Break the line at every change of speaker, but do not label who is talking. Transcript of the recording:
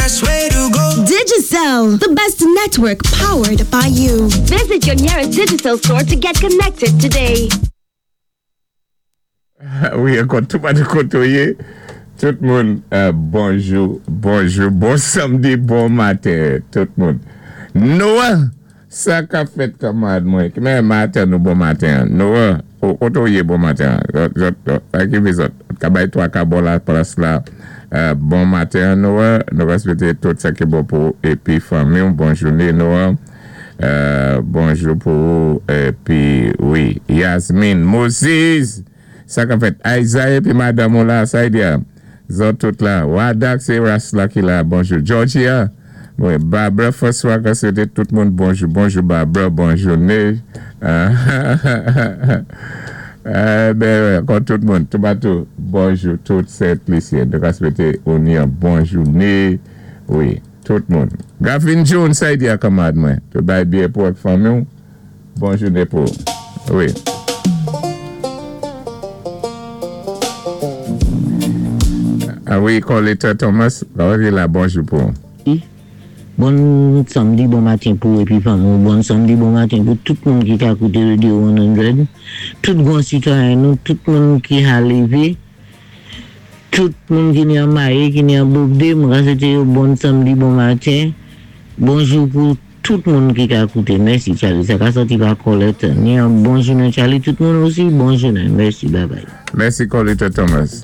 best way to go.
Digicel, the best network powered by you.
Visit your nearest Digicel store to get connected today.
Wi, ankò tou patou koté ou yé, tout moun bonjou, bonjou, bon samdi, bon maten tout moun. Noah, sa kap fèt kanmarad mwen? Ki maten nou bon maten? Noah, koté ou yé bon maten? Zòt, zòt, ki zòt? Ka bay 3 ka bò la plas la. Bon maten Noah, nou swété tout sa ki bon pou épi fanmi, bon jouné Noah. Bonjou pou ou épi wi Yasmine Moses sa k ap fèt Isaiah épi madanm ou la sa y di zòt tout la Wadak sé Ras la ki la bonjou Georgia wi Barbara François ka swété tout moun bonjou bonjou Barbara bon jouné ben ankò tout moun toupatou bonjou tout Sent Lisyen nou ka swété ou ni yon bon jouné wi. Tout moun. Gavin Jones, sa y di a kanmarad mwen. Tout bagay byen pou ak fanmi ou. Bon jouné pou ou. Wi. A wi, Coletta Thomas, la bonjou pou ou.
Bon samdi, bon maten pou épi fanmi ou. Bon samdi, bon maten pou tout moun ki ka kouté Radio 100. Tout gran sitwayen nou, tout moun ki ka lévé. Tout moun ki ni an Mayi, ki ni an Bobde, mwen ka swété yo bon samdi, bon maten. Bonjou pou tout moun ki ka kouté. Mèsi Charlie. Sa ka sòti pa Colette. Ni an bon jounen Charlie. Tout moun osi, bon jounen. Mèsi, bye bye.
Mèsi Coletta Thomas.